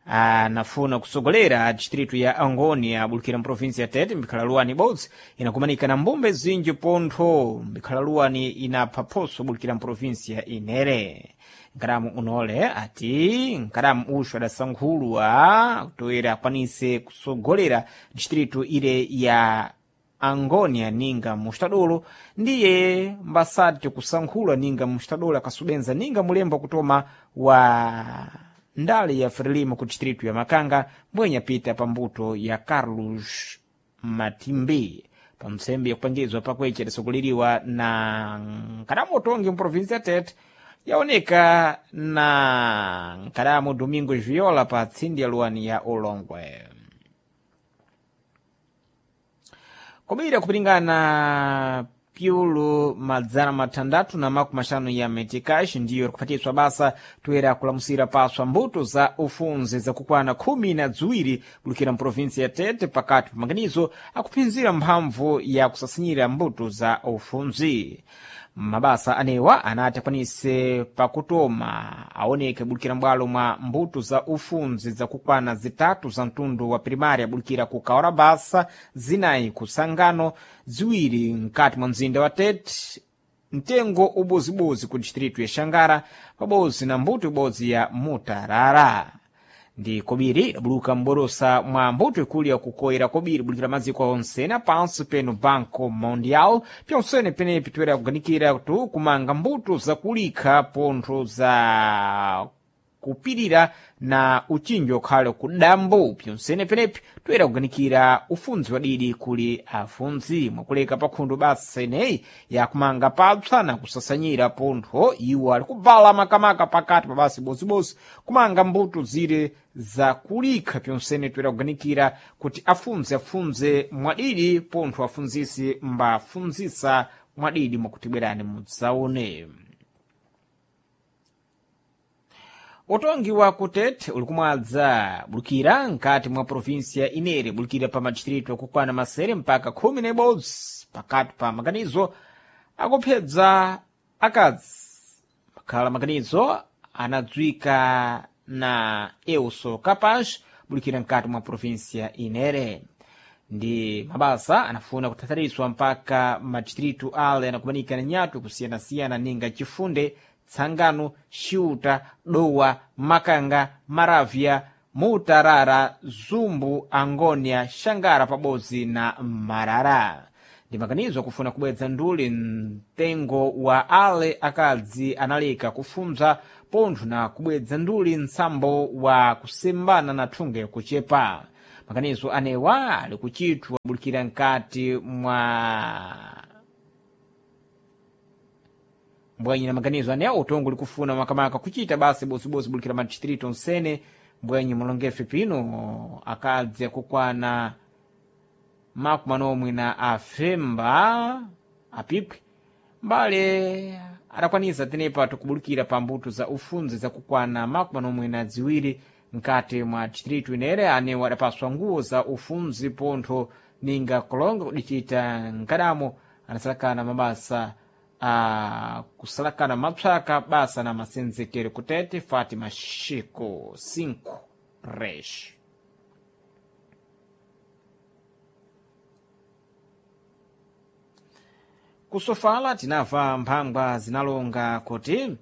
anafuna kusogolera distritu ya Angonia abulukira mprovinsi ya Tete mbikhala luwani ibodzi inakumanika na mbumba zinji pontho mbikhala luwani inapha phoso bulukira mprovinsi ya Inere. Nkalamu unole ati nkalamu uxu adasankhulwa toera akwanise kusogolera distritu ile ya Angonia ninga mustadolo ndiye mbasati kusankhulwa ninga mustadolo akasubenza ninga mulembo kutoma wa ndale ya Frelimo ku distritu ya Makanga mbwenya pita pambuto ya Carlos Matimbi pa mtsembe yakupangizwa pakwecha idasogoleriwa na nkadamu utongi mprovinsi ya Tete yaoneka na nkadamu Domingos Viola pa tsindi ya luwani ya Ulongwe. Kobira kupilingana pyulu 650 ya metikash ndiyo ikuphatiswa basa toera kulamusira paswa mbuto za ufunzi zakukwana 12 bulukira mprovinsi ya Tete pakati pa maganizo akuphinzira mphamvu ya kusasinyira mbuto za ufunzi. Mabasa anewa anati akwanise pakutoma aoneke bulukira m'bwalo mwa mbuto za ufunzi zakukwana 3 za mtundu wa primari abulukira ku Kaorabasa, 4 ku Sangano, 2 mkati mwa mzinda wa Tete, mtengo ubozibozi ku distritu ya Xangara pabodzi na mbuto ibodzi ya Mutarara. Ndi kobiri idabuluka m'borosa mwa mbuto ikulu yakukoera kobiri bulikira maziko onsene pansi peno Banco Mundial pyonsene penepi toera kuganikira tu kumanga mbuto zakulikha pontho za kupirira na uchinji ukhale kudambo pyonsene penepi toyera kuganikira ufunzi wadidi kuli afunzi mwakuleka pakhundu basa ineyi yakumanga papsa na kusasanyira pontho iwo ali kubvala makamaka pakati pa basa ibozibodzi kumanga mbuto zire zakulikha pyonsene toyera kuganikira kuti afunzi afunze mwadidi pontho afunzisi mbafunzisa mwadidi mwakuti bwerani mudzaone. Utongi wa kutete uli kumwadza bulukira nkati mwa provinsia inere bulukira pa madistritu akukwana masere mpaka 11 pakati pa maganizo akuphedza akadzi makhala maganizo anadzwika na Euso Capaz bulukira nkati mwa provinsia inere ndi mabasa anafuna kuthathariswa mpaka madistritu ale anakumanika na nyatu kusiyanasiyana ninga Chifunde, Tsangano, Xiuta, Dowa, Makanga, Maravya, Mutarara, Zumbu, Angônia, Xangara pabodzi na Marara. Ndi maganizo akufuna kubwedza nduli mtengo wa ale akadzi analeka kufunza pontho na kubwedza nduli mtsambo wa kusembana na thunge kuchepa. Maganizo anewa ali kuchitwa bulikira nkati mwa mbwenye na maganizo anewa utongo likufuna makamaka kuchita basi bosibosi bulikira madistritu onsene mbwenye mulongefe pino akadzi akukwana makumi anomwe na afemba apipwi mbale adakwanisa tenepa tikubulukira pa mbuto za ufunzi zakukwana 42 nkati mwa distritu inere anewo adapaswa nguwo za ufunzi pontho ninga kulonga kudichita nkadamo anasalakana mabasa a kusalakana mapsaka basa na masenzekero kutete Fátima Chico 5 Reis. Kusofala tinamva mphangwa zinalonga kuti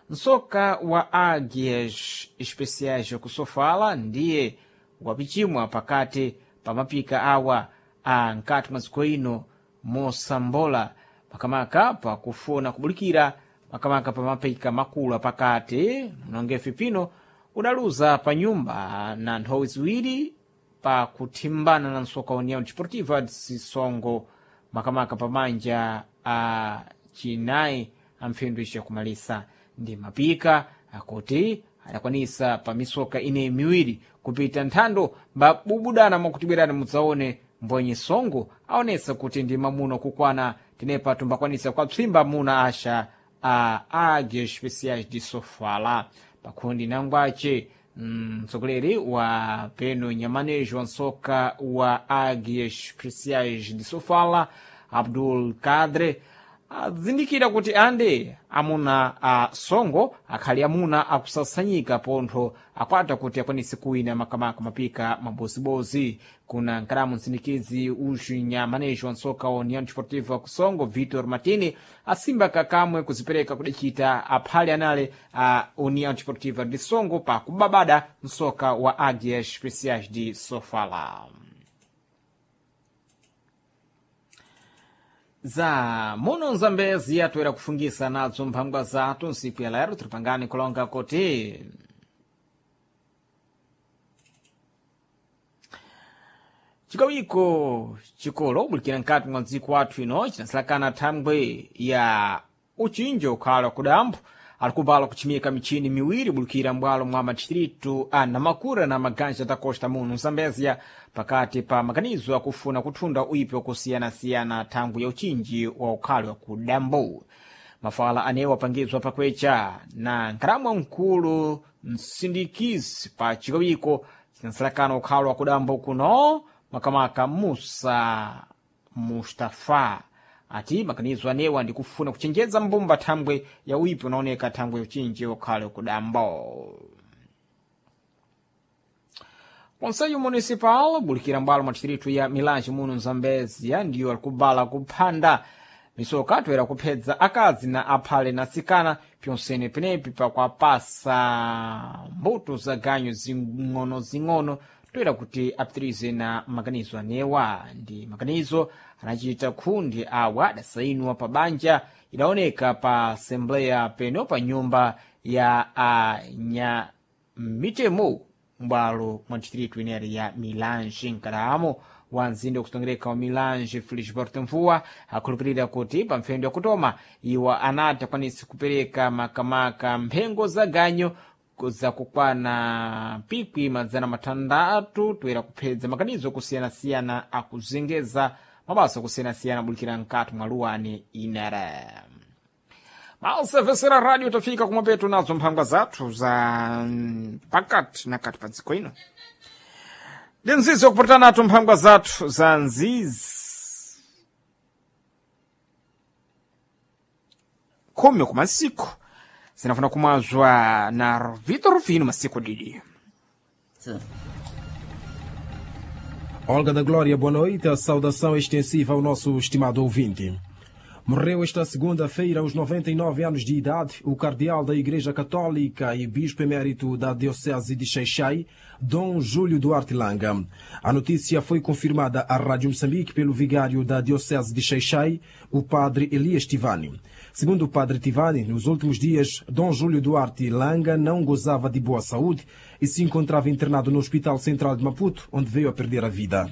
msoka wa águias especiais kusofala ndiye wapichimwa pakati pa mapika awa a nkati mwa dziko ino mosambola makamaka pakufuna kubulikira makamaka pa mapika makulu apakati mnongefe pino udaluza pa nyumba na nthowi ziwiri pa kuthimbana na msoka wa União Desportiva de Sisongo makamaka pamanja a chinayi amphindu ichakumalisa ndi mapika akuti adakwanisa pa misoka ineyi miwiri kupita nthando mbabubudana mwakutibwerani mudzaone mbwenye songo aonesa kuti ndi mamuno kukwana tenepa tumbakwanisa kwapsimba muna asha a águias especiais de Sofala pakhundi nangwace mtsogoleri wa peno nyamanejo wa nsoka wa águias especiais de Sofala Abdul Kadre azindikira kuti ande amuna a songo akhali amuna akusasanyika pontho akwata kuti akwanise kuwina makamaka mapika mabozibozi kuna nkalamu msindikizi uxu nyamanejo wa nsoka wa União Desportiva kusongo Vitor Martini asimba kakamwe kuzipereka kudicita aphale anale a União Desportiva de Songo pa kubabada msoka wa Águias Especiais de Sofala. Za muno Nzambezi atoera kufungisa nadzo mphangwa zathu nsiku ya lero tilipangani kulonga kuti chikawiko chikolo ubulikira nkati mwa dziko athu ino chinasalakana thangwe ya uchinjo ukhala kudambo alikubala kuchimika michini miwiri bulikira mbwalo mwa madistritu a Namakura na Maganja da Costa muno Zambezia pakati pa maganizo akufuna kuthunda uipi wakusiyanasiyana thangwi ya uchinji wa ukhali wa kudambo. Mafala anewo apangizwa pakwecha na nkhalamwa mkulu msindikizi pa chikawiko chinasalakana ukhalo wa kudambo kuno makamaka Musa Mustafa ati maganizo anewa ndi kufuna kuchenjeza mbumba thangwe ya uipi unaoneka thangwe ya uchinji ukhale kudambo. Conselho Municipal bulikira mbwalo mwa distritu ya Milange muno Mzambezia ndiyo alikubala kuphanda misoka toera kuphedza akazi na aphale na atsikana pyonsene penepi pakuapasa mbuto za ganyu zing'ono-zing'ono toera kuti apitirize na maganizo anewa ndi maganizo anachita khundi awa adasainwa pa banja idaoneka pa assembleya peno pa nyumba Ya anyamitemo m'bwalo mwa distritu ineri ya Milange nkadamo wa mzinda wakutongereka wa Milange Felisberto Mvua akhulupirira kuti pa mpfendo yakutoma iwo anati akwanise kupereka makamaka mphengo za ganyo zakukwana pikwi 600 toera kuphedza makanizo akusiyana-siyana akuzengeza mabasa akusiyana-siyana abulikira mkati mwa luwani inere. Malsevesera radio tafika kumapeto nazo mphangwa zathu za pakati na kati pa dziko ino ndi nzizi wakupatana nato mphangwa zathu za nzizi 10 kumasiku zinafuna kumwazwa na Vitor Rufino masiku didi. Olga da Glória, boa noite. A saudação extensiva ao nosso estimado ouvinte. Morreu esta segunda-feira, aos 99 anos de idade, o cardeal da Igreja Católica e bispo emérito da Diocese de Xai-Xai, Dom Júlio Duarte Langa. A notícia foi confirmada à Rádio Moçambique pelo vigário da Diocese de Xai-Xai, o padre Elias Tivani. Segundo o padre Tivani, nos últimos dias, Dom Júlio Duarte Langa não gozava de boa saúde e se encontrava internado no Hospital Central de Maputo, onde veio a perder a vida.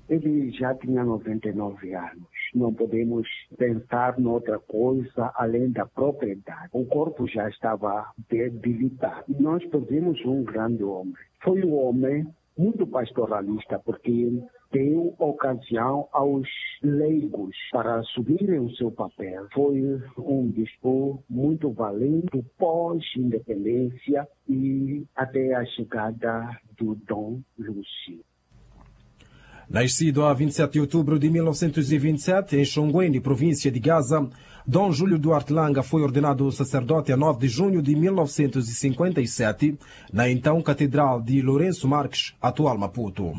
Ele já tinha 99 anos. Não podemos pensar noutra coisa além da propriedade. O corpo já estava debilitado. Nós perdemos um grande homem. Foi um homem muito pastoralista, porque deu ocasião aos leigos para assumirem o seu papel. Foi um bispo muito valente pós-independência e até a chegada do Dom Lúcio. Nascido a 27 de outubro de 1927 em Xonguene, província de Gaza, Dom Júlio Duarte Langa foi ordenado sacerdote a 9 de junho de 1957 na então Catedral de Lourenço Marques, atual Maputo.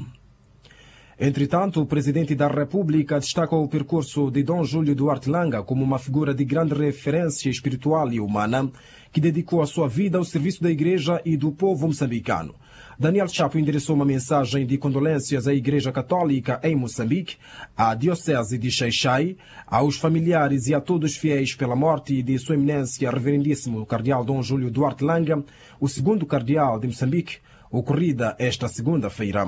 Entretanto, o presidente da República destaca o percurso de Dom Júlio Duarte Langa como uma figura de grande referência espiritual e humana que dedicou a sua vida ao serviço da Igreja e do povo moçambicano. Daniel Chapo endereçou uma mensagem de condolências à Igreja Católica em Moçambique, à Diocese de Xai-Xai, aos familiares e a todos os fiéis pela morte de Sua Eminência Reverendíssimo Cardeal Dom Júlio Duarte Langa, o segundo cardeal de Moçambique, ocorrida esta segunda-feira.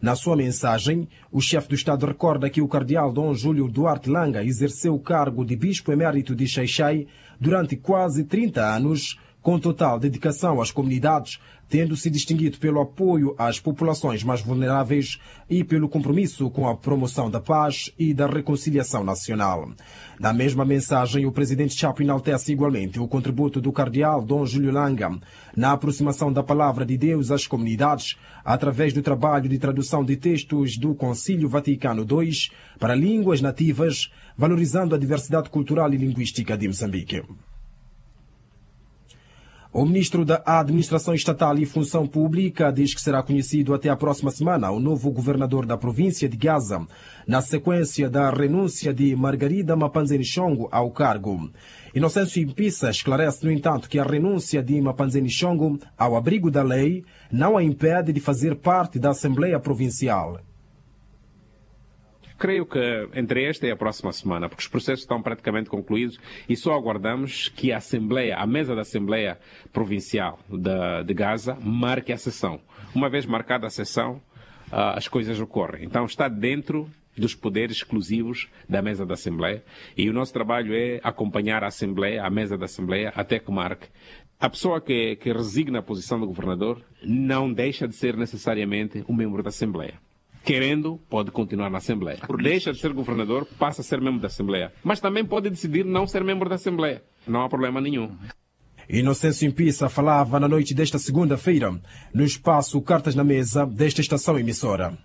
Na sua mensagem, o chefe do Estado recorda que o cardeal Dom Júlio Duarte Langa exerceu o cargo de bispo emérito de Xai-Xai durante quase 30 anos, com total dedicação às comunidades, tendo se distinguido pelo apoio às populações mais vulneráveis e pelo compromisso com a promoção da paz e da reconciliação nacional. Na mesma mensagem, o presidente Chapo enaltece igualmente o contributo do cardeal Dom Júlio Langa na aproximação da palavra de Deus às comunidades, através do trabalho de tradução de textos do Concílio Vaticano II para línguas nativas, valorizando a diversidade cultural e linguística de Moçambique. O ministro da Administração Estatal e Função Pública diz que será conhecido até a próxima semana o novo governador da província de Gaza, na sequência da renúncia de Margarida Mapanzeni Chongo ao cargo. Inocêncio Impissa esclarece, no entanto, que a renúncia de Mapanzeni Chongo ao abrigo da lei não a impede de fazer parte da Assembleia Provincial. Creio que entre esta e a próxima semana, porque os processos estão praticamente concluídos e só aguardamos que a Assembleia, a mesa da Assembleia Provincial de Gaza, marque a sessão. Uma vez marcada a sessão, as coisas ocorrem. Então está dentro dos poderes exclusivos da mesa da Assembleia e o nosso trabalho é acompanhar a Assembleia, a mesa da Assembleia, até que marque. A pessoa que resigna a posição do governador não deixa de ser necessariamente um membro da Assembleia. Querendo, pode continuar na Assembleia. Deixa de ser governador, passa a ser membro da Assembleia. Mas também pode decidir não ser membro da Assembleia. Não há problema nenhum. Inocêncio Impissa falava na noite desta segunda-feira, no espaço Cartas na Mesa desta estação emissora.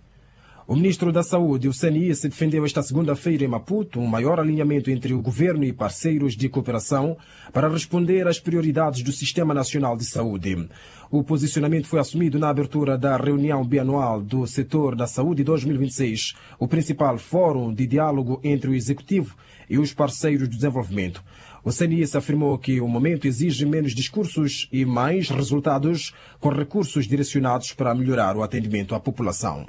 O ministro da Saúde, o CNI, se defendeu esta segunda-feira em Maputo um maior alinhamento entre o governo e parceiros de cooperação para responder às prioridades do Sistema Nacional de Saúde. O posicionamento foi assumido na abertura da reunião bianual do setor da saúde 2026, o principal fórum de diálogo entre o executivo e os parceiros de desenvolvimento. O CNIS afirmou que o momento exige menos discursos e mais resultados, com recursos direcionados para melhorar o atendimento à população.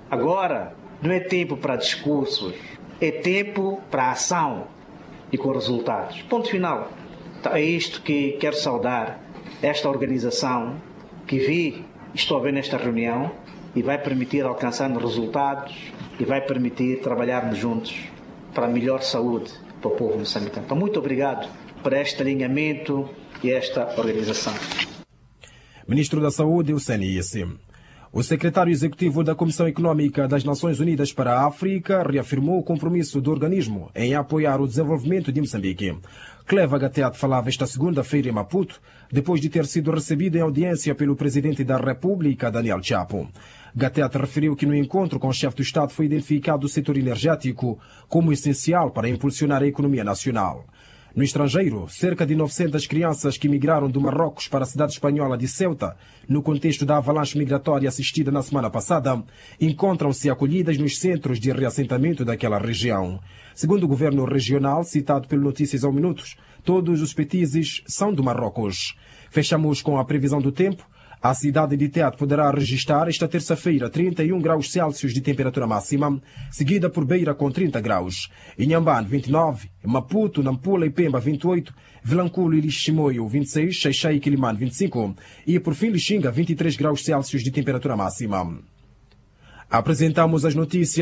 Agora não é tempo para discursos, é tempo para ação e com resultados. Ponto final. Então, é isto que quero saudar esta organização que vi, estou a ver nesta reunião e vai permitir alcançarmos resultados e vai permitir trabalharmos juntos para a melhor saúde para o povo moçambicano. Então, muito obrigado por este alinhamento e esta organização. Ministro da Saúde, Hussein Isse. O secretário executivo da Comissão Econômica das Nações Unidas para a África reafirmou o compromisso do organismo em apoiar o desenvolvimento de Moçambique. Cleva Gateat falava esta segunda-feira em Maputo, depois de ter sido recebido em audiência pelo presidente da República, Daniel Chapo. Gateat referiu que no encontro com o chefe do Estado foi identificado o setor energético como essencial para impulsionar a economia nacional. No estrangeiro, cerca de 900 crianças que migraram do Marrocos para a cidade espanhola de Ceuta, no contexto da avalanche migratória assistida na semana passada, encontram-se acolhidas nos centros de reassentamento daquela região. Segundo o governo regional, citado pelo Notícias ao Minutos, todos os petizes são do Marrocos. Fechamos com a previsão do tempo. A cidade de Tete poderá registrar esta terça-feira 31 graus Celsius de temperatura máxima, seguida por Beira com 30 graus. Inhambane 29, Maputo, Nampula e Pemba 28, Vilanculo e Liximoio 26, Xaixai e Quilimane 25 e por fim Lixinga 23 graus Celsius de temperatura máxima. Apresentamos as notícias.